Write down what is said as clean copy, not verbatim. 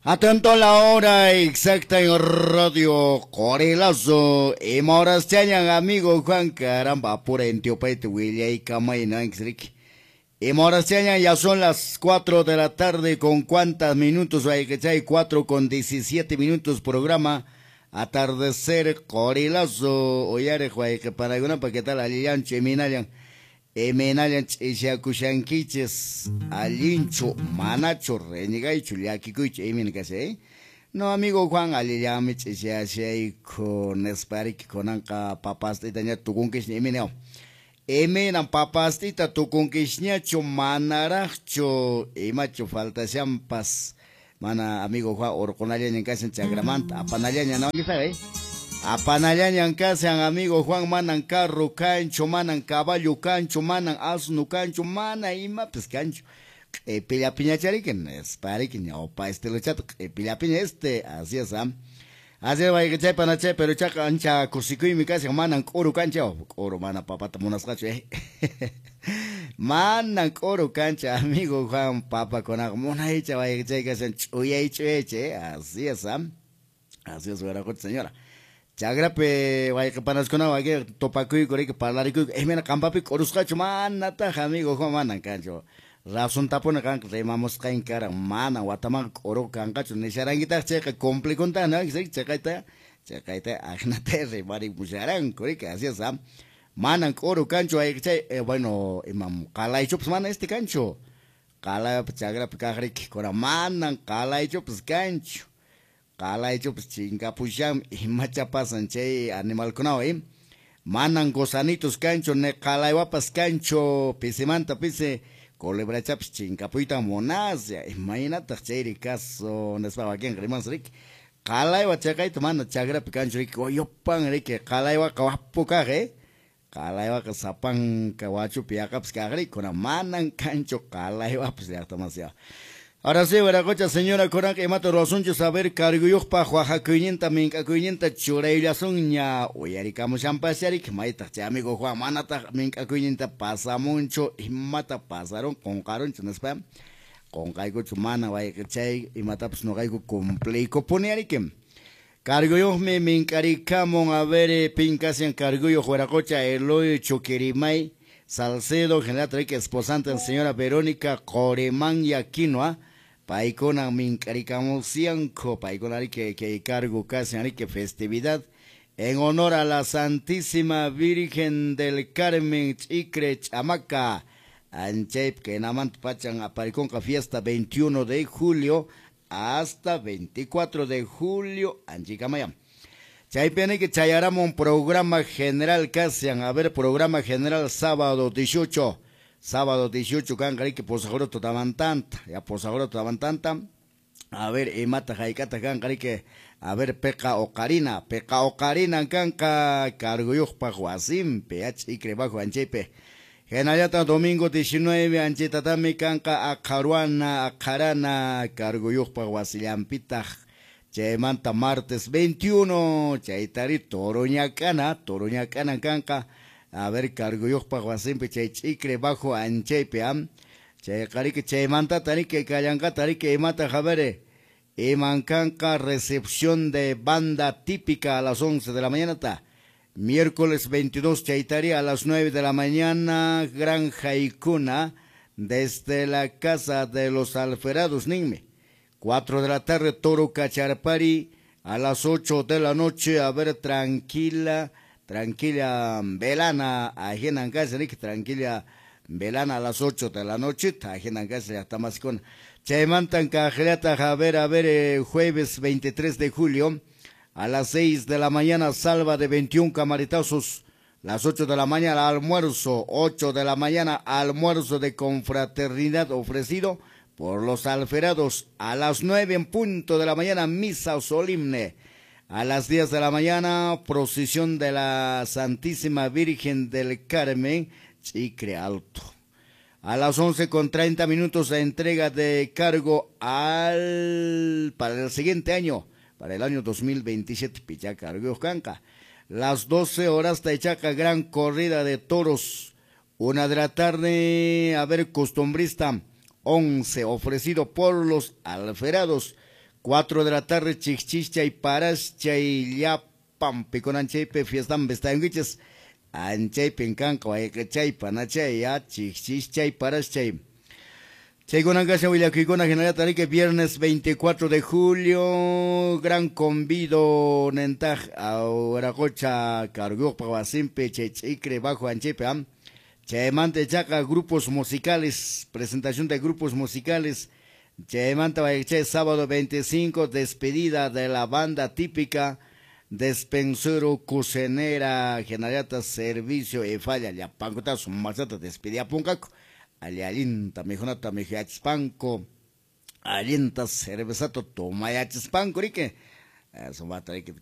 Atento a la hora exacta en Radio Qorilazo. Ima horas chañan amigo Juan, caramba, apura en Teopaite, Willaykamay, no, Ima horas chañan, ya son las 4 de la tarde, con cuántas minutos, hay 4:17, programa Atardecer Qorilazo. Oyare, para qué tal, alillancho, eminallan. Emenallan ch'ishakushankichis, allinchu, manachu, renegaychu, llakikuychu, imin kashay, eh? No, amigo Juan, allillami ch'ishashayku, nispariki kunanqa papastita ña tukunkishña, imineo. Imenan papastita tukunkishñachu, manaraqchu, imachu faltashampas, mana amigo Juan, urqunallañan kashan chakramanta, apanallaña, no, ¿sabes? Apanallañan kashan amigo Juan, manan carro cancho, manan caballo cancho, manan asno cancho, mana imapis cancho. Q'ipillapiñachariki, nispariki, ñawpa estilochata, q'ipillapiña este, así es, ¿ah? Así es, wayqichay panachay, pero chaqa ancha kusikuymi kashan, manan k'uru kancha, k'uru mana papata munasqachu, eh. Manan k'uru kancha, amigo Juan, papakunaqa munaycha wayqichay kashan, ch'uyay ch'uyaycha, eh, así es, ¿ah? Así es, wiraqucha señora. Chagrape wayqipanaskunawan wayqi topakuyku riki parlarikuyku, imena qampapi k'urusqachu manataq amigo Juan, manan kanchu. Razón tapuna kanqa rimamusqayn karan, manan watamanqa k'uru kanqachu nisharankitaq chayqa cumplikuntaq, ¿no? Chayqayta, chayqayta ajnata rimarimusharanku riki, así es, ¿ah? Manan k'uru kanchu wayqichay, bueno, imam qalaychupas mana este kanchu. Qalaypi chagrapi kaq riki, kunan manan qalaychupas kanchu. Qalaychupas chinkapushan, imacha pasan chay animalkunawan, eh? Manan gusanitos kanchu, ni qalaywapas kanchu, pisimanta pisi culebrachapas chinkapuyta munasya, imaynataq chayri caso, nispa wakinqa rimansi riki. Qalaywa chaqayta mana chagrapi kanchu riki, uyupan riki, qalaywaqa wapu kaq, eh? Qalaywaqa sapanka wachupi yaqapas kaq riki, kunan manan kanchu qalaywapas llaqtamasya. Ahora sí, wiraqucha señora, kunanqa imata ruwasunchu saber carguyuqpaq waqakuyninta mink'akuyninta churayllasunña uyarikamushanpascharik, maytaq chay amigo Juan manataq mink'akuyninta pasamunchu, imata pasarun qunqarunchu nispa, qunqaykuchu mana wayqichay imatapas nuqayku cumpliykupuni ariki. Carguyuqmi mink'arikamun, a ver, pinkasian carguyuq wiraqucha Eloy Chuquirimay Salcedo, general riki esposante señora Verónica Qorimanya Quinoa. Paykuna mink'arikamusianku, paykuna riki kay cargo kashan riki festividad en honor a la Santísima Virgen del Carmen Ch'icre Ch'amaca. Anchaypi kaynamanta pachan aparikunqa fiesta 21 de julio hasta 24 de julio anchaykamaya. Chaypi niki chayaramun programa general kashan, a ver, programa general sábado 18. Sábado 18 kanqa riki posajuro tutamantanta, ya posajuro tutamantanta. A ver, imata hayk'ata kanqa riki, a ver, peqa oqarina, peqa oqarina kanqa carguyuqpaq wasinpi, ya ch'ikri bajo anchaypi. Hinallataq domingo 19 anchaytatami kanqa aqharuana, aqharana carguyuqpaq wasillanpitaq. Chaymanta martes 21 chaytari toruñak'ana, toruñak'ana kanqa. A ver, carguyuqpaq wasinpi chay ch'ikri bajo anchaypi, am. Chayqa riki chaymantata riki kallanqata riki imata a ver, iman kanqa recepción de banda típica a las 11 de la mañana ta. Miércoles 22 chaytari a las 9 de la mañana, Gran Jaicuna, desde la casa de los Alferados, ninme. 4 de la tarde, Toro Cacharpari, a las 8 de la noche, a ver, tranquila, tranquila velana, ajenan casa, tranquila velana a las 8 de la noche, ajenan casa, ya está más con. Chaymantan cajeriata, a ver, jueves 23 de julio, a las 6 de la mañana, salva de 21 camaritazos, las 8 de la mañana, almuerzo, 8 de la mañana, almuerzo de confraternidad ofrecido por los alferados, a las 9 en punto de la mañana, misa solemne. A las 10 de la mañana, procesión de la Santísima Virgen del Carmen, Chicre Alto. A las 11:30, la entrega de cargo para el siguiente año, para el año 2027, Pichaca, Canca. Las 12 horas, Taichaca, gran corrida de toros. 1 de la tarde, a ver, costumbrista, 11, ofrecido por los alferados. 4 de la tarde, chikchichay paraschay llapan pikunanchaypi fiestan vestayunkichis anchaypin kanqa wayqichay panachay ya chikchichay paraschay. Chaykunan kashan willakuykuna hinallataq riki viernes 24 de julio gran convido nentaq Wiraqocha carguyuqpaq wasinpi chay ch'ikri bajo anchaypi am chaymanta ichaqa grupos musicales, presentación de grupos musicales. Chaymanta wayqichay sábado 25 despedida de la banda típica despensero, cocinera, hinallataq servicio y falla llapankuta sumaqllata despediapunqaku. Allinta mikhunata mikhuyachispanku, allinta cervezata tomayachispanku riki sumaqta riki.